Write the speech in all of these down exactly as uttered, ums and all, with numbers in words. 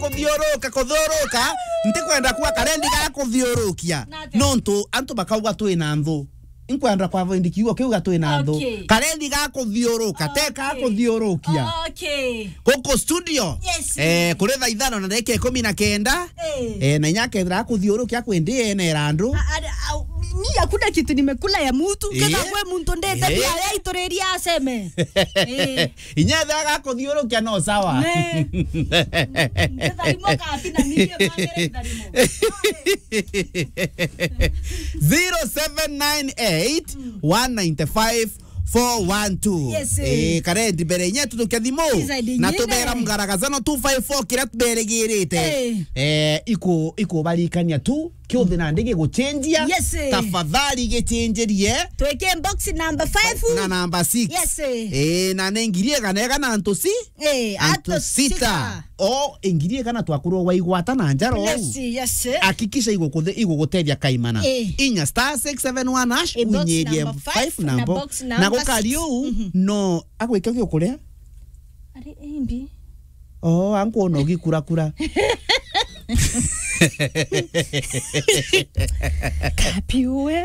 Kuthiuruka, kuthiuruka. Ntikwenda kuwa karendi ga kuthiurukia. Nontu antu bakauga twi na nthu. Inkwenda kwa voindi kiugo kiu ga twi na nthu. Okay. Karendi ga kuthiuruka, te ka kuthiurukia. Okay. Guku studio. Yes. Eh, kuri thaa ithano na ndagika ikumi na kenda. Eh. Eh, na inya kethira kuthiurukia kwi ndi ene randu. A-, a-, a-, mi hakuna kitu nimekula ya mtu. Eh. Kenda kwe muntu ndete pia ya ituriria aseme. Eh. Inya ethira gakuthiurukia no sawa. Ne. Ngetharimo katina nirie mangere itharimo. Zero seven nine eight, one nine five, four one two. Yes, eh. Eh, karendi mbere inya tutuke thimu. Iza ndi na nyine. Tubera mgaragazano two five four kiria tuberigirite. Eh. Eh, iku, ikubarikania tu. Kiuthi nandi giguchenjia. Yes, eh. Tafadhali gichenjerie. Twike box number five. Na number six. Yes, eh. Eh, na ni ngiri igana igana antu si? Eh, antu antu sita. Sita. O, ngiri igana twakurwa waigwata na njara ou. Yes, yes, eh. Hakikisha igukuthe-, igugutethia kaimana. Eh. Inya star six seven one hash, eh, box unyerie number five, five na na bo-, box na number gukari six. Ou, mhm, no, agwike gikuria? Ari imbi. Oh, ankuona ugikurakura. Kapi we.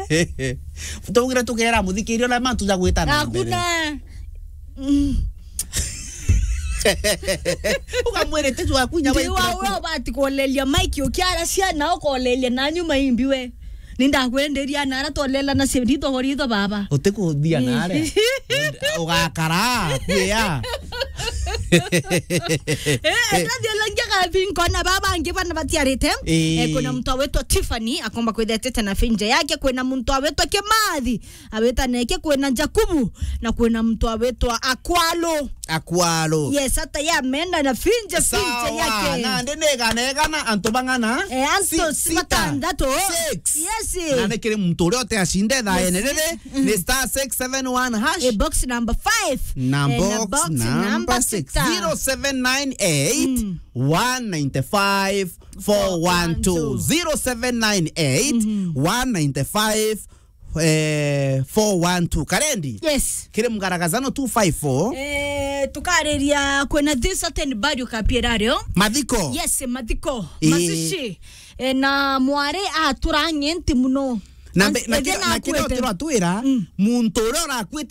Tugire tugera muthikiria uria mantu ja gwita na mbere. Hakuna. Mm. Ukamwire titu waku inya. Ndi wa waitire we ubati kuoleria maiki ukiara ciana ukoleria na nyuma imbi we. Nindakwenderia na ara twalela na cio ritho ritho baba. Utikuthia nare. Ugakara kuya. Eh, ndathialangia kathi nkona baba angi bana batiarite. Eh. Eh, kuna mtu awetwa Tiffany akomba kwithetete na finja yake, kuna mtu awetwa Kimathi aweta neke, kuna Jakubu, na kuna mtu awetwa Akwalo. Akwalo. Yes, hata ya menda na finja, finja yake. Nandi ni igana igana, antu bang'ana? Eh, antu si-, sita. Batandatu. Six. Yes. Na ni kiri muntu uria uti acinde thaa ene riri, ni star six seven one hash. Eh, box number five. Na eh, na box box number number six. Sita. Zero seven nine eight, one nine five, four one two. Zero seven nine eight, one nine five, eh, four one two. Karendi? Yes. Kiri mgaragazano two five four. Eh, tukariria kwina this certain burial kapiera rio. Mathiko? Yes, mathiko. Eh. Mazishi. Eh, na mwari atura ng'enti muno. Na mbe-, na kira, na kira utira twira, muntu uria urakuite